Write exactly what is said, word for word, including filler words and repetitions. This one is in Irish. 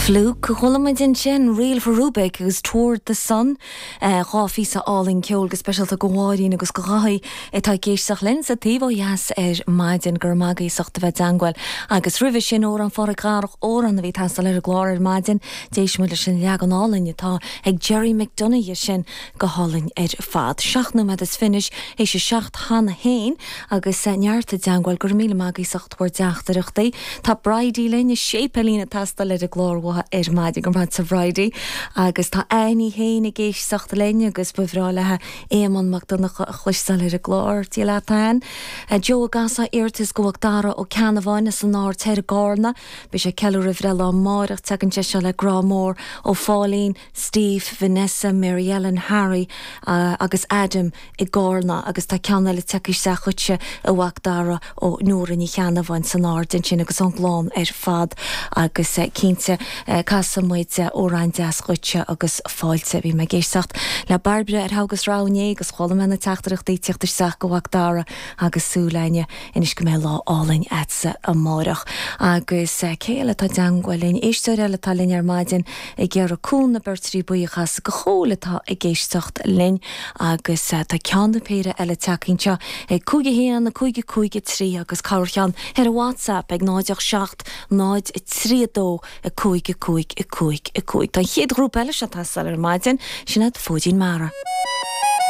Fluke chuala muid ansin Reel for Rubik agus Toward the Sun dhá phíosa álainn ceoil go speisialta do Mháirín agus do Dháithí atá ag éisteacht linn sa taobh ó dheas ar maidin gur magaíocht a bheith dangil agus roimhe sin amhrán Phádraic Dharach amhrán a bhí ag teastáil ar an gclár ar maidin d'éist muid leis an leagan álainn atá ag Jerry McDonagh sin go hálainn ar fad. Seacht nóiméad is fiche théis a seacht cheana féin agus neart i dteagmháil gur míle magaíocht bhur dteachtaireachtaí. Tá Bridie linn is séipéilín ag teastáil ar an gclár uathu ar maidin go raibh Bridie agus tá Annie féin ag éisteacht linn agus ba bhreá léi Éamonn Mac Donncha a chloisteáil ar an gclár Dia leat Ann. Joe Gasa iarratas go bhfuil Dara Ó Ceannabháin as an Aird Thoir i gCarna, Beidh sé ag ceiliúradh a bhreithlá amárach tagann sé seo le grá mór ó Pháilín, Steve, Vanessa, Mary Ellen, Harry uh, agus Adam i gCarna agus tá ceann eile tagtha isteach chugatsa a mhac Dara ó Nóra Ní Cheannabháin san Aird ansin agus ón gclann ar fad agus uh, cinnte uh, casfaidh muid amhrán deas dhuitse agus fáilte bhí mé ag éisteacht le Bairbre ar agus ráné agus chuala mé na teachtaireachtaí ag teacht isteach go mhac Dara agus súil againne anois go mbeidh lá álainn agatsa amárach agus uh, cé eile atá i dteagmháil linn éisteoir eile atá linn ar maidin ag iarraidh Cuan na Beirtrí buíochas go chóil atá ag éisteacht linn agus uh, tá ceann péire eile tagtha anseo ag cúig a haon a cúig cúig trí agus corrcheann ar a WhatsApp ag náid seacht náid trí dó a cúig cúig cúig cúig. Tá chéad ghrúpa eile seo ag teastáil ar maidin sin iad Fóidín Mara.